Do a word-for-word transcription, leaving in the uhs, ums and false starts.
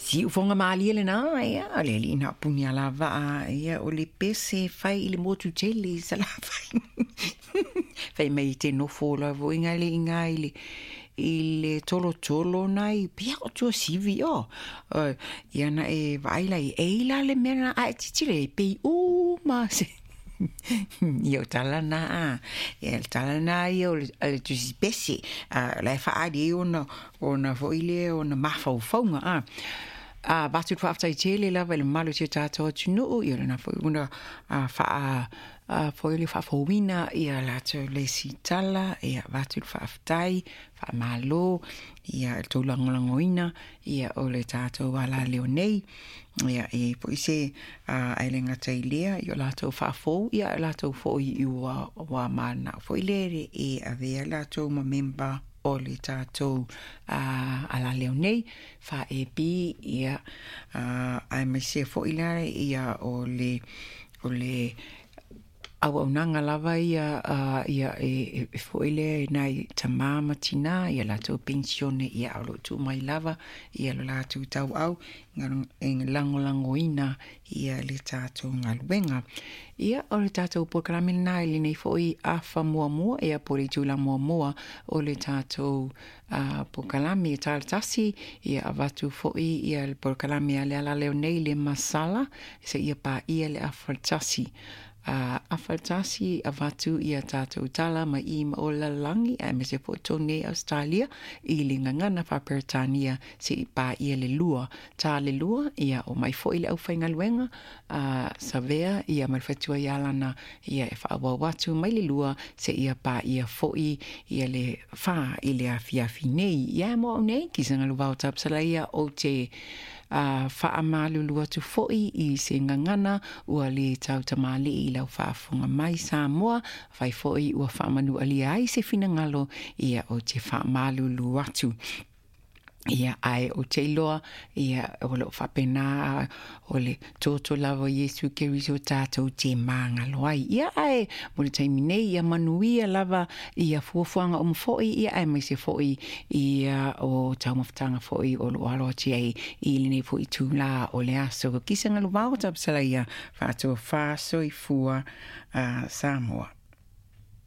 Siufoga malie lenā ia le alii na puni alavaa ia o le pese fai i le motu tele i Salafai. Fai mai te nofo lava iga le iga i le i le tolotolo nai pia o Tuasivi o. Ia na e vaai lai e la le mea na ae titile pei uma se ia o tala na a ia le tala na ia o le, le tusi pese a la e faali ai ona ona foi lea ona mafaufauga a a avatu le faafetai tele lava i le mamalu o si o tatou atunuu ia lena foi ona faa foi le faafouina ia latou le sitala ia avatu le faafetai faamalo ia le tou lagolagoina ia o le tatou alaleo nei ia e foi se ae le gata i lea ia o latou faafou ia o latou foi i ua ua manao foi le e avea latou ma memba o le tatou alaleo nei fa-E B ia aemaise foi la ia o le o le auaunaga lava ia ia e foi lea nai tamā ma tinā ia latou penisione ia o loo tuu mai lava ia lo latou tauau e lagolagoina ia le tatou galuega. Ia o le tatou polokalame lenā i lenei foi afa muamua ia po o le itula muamua o le tatou polokalame ta le tasi ia avatu foi ia le polokalame a le alaleo nei le masala seia paia le afa tasi. Afa tasi avatu ia tatou tala mai i ma o lalagi aemaise foi totonu nei Ausetalia i le gagana faaperetania seia paia le lua. Ta le lua ia o mai foi le aufaigaluega a Savea ia ma le fatua ia lana ia e faaauau atu mai le lua seia paia foi ia le fa i le afiafi nei. Ia mo au nei kisagaluvao Tapusalaia ou te faamalulu atu foi i se gagana ua le tautamalii i lau faafofoga mai Samoa fai foi ua faamanualia ai se finagalo ia o te faamalulu atu. Ia ae ou te iloa ia o loo faapena o le toto lava o Iesu Keriso tatou te magalo ai. Ia ae mo le taimi nei ia manuia lava ia fuafuaga uma foi ia aemaise foi ia o taumafataga foi o loo alo atu ai i lenei foi itulā o le aso. Kisagaluvao Tapusalaia faatofa soifua Samoa.